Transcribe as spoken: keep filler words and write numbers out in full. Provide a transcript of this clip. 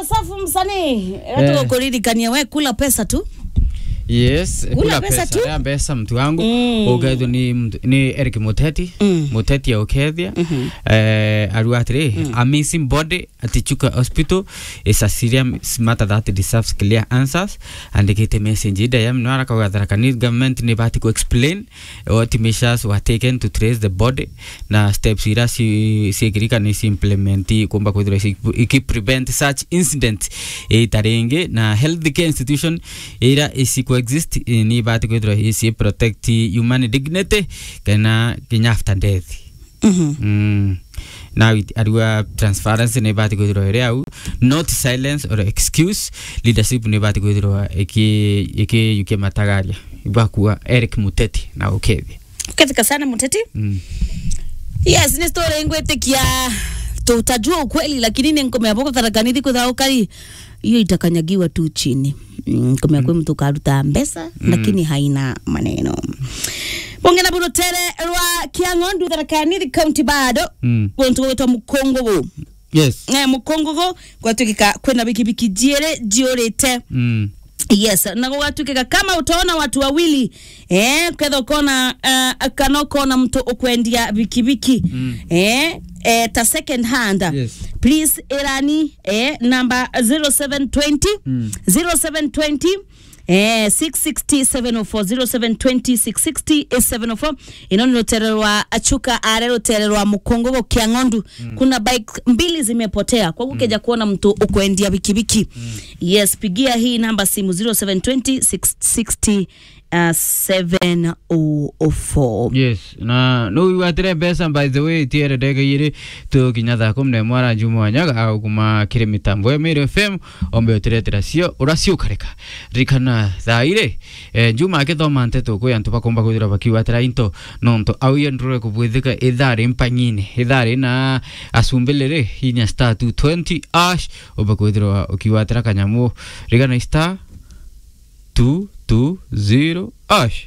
Safu msanii, eh, tukuririkania we kula pesa tu. Yes, kula pesa tu. Ya pesa mtu wangu. Mm. Ukethwa ni mtu, ni Eric Muteti. Mm. Muteti ya ukethia. Mhm. Eh, arua atiri, mm, a missing body at Chuka Hospital is a serious matter that deserves clear answers. Andikite message ida ya mno arakauga Tharaka Nithi government ni bati ku explain what measures were taken to trace the body, na steps ira ci-, ciekirika ni ci implement kumba kwithirwa ci-, iki prevent such incidents ita ringi, na healthcare institution ira isi coexist, eh, ni ibati kwithirwa isi protect human dignity kana kinya after death. Mhm. Mm. Now it, arua transparency ni ibati kwithirwa iri au, not silence or excuse. Leadership ni ibati kwithirwa iki, iki, iki matagaria. Ibakua Eric Muteti na ukethia. Ukethika sana Muteti. Mm. Yes, ni story ngwitikia tutajua ukweli, lakini ni nkomea boko Tharaka Nithi kwithirwa ukari, hiyo itakanyagiwa tu chini. Mm, nkomea kwi mtu karuta mbesa, mm, lakini haina maneno. Bonge na burutere rwa Kiang'ondu, Tharaka Nithi County bado. Mm. Guntu gwitwa Mukungugu. Yes. Eh, Mukungugu, gwatuikika kwina bikibiki jiiri jiurite. Mm. Yes, na gugatukika kama utaona watu wawili, eh, ketha ukona, eh, kana ukona mtu ukwendia bikibiki, mm, eh, eh, ta second hand. Yes. Please, irani, eh, number zero seven twenty, mm, zero seven twenty, eh, six sixty seven oh four, zero seven twenty six sixty seven oh four. Ino ni rutere rwa Achuka, are rutere rwa Mukungugu Kiang'ondu. Mm. Kuna bike mbili zimepotea. Kwa hivyo, mm, ukeja kuona mtu ukwendia bikibiki. Mm. Yes, pigia hii namba simu zero seven twenty six sixty, uh, seven oh four. Yes, na no wigwatire mbeca, by the way, tiere ndege iri tukinya thaa kumi na imwe ara Juma Wanyaga agukuma kiri mitambo ya Meru F M, ombe utiretera cio, uracio ukareka. Ririkana thaa iri, eh, Juma akithoma nteto kwi antu bakomba kwithirwa bakiwatira into, nontu au yo ndurure kubwithika ithari mpang'ine, ithari na acumbiliri inya star two twenty hash, ombe kwithirwa ukiwatira kanyamu. Ririkana star two two zero hash.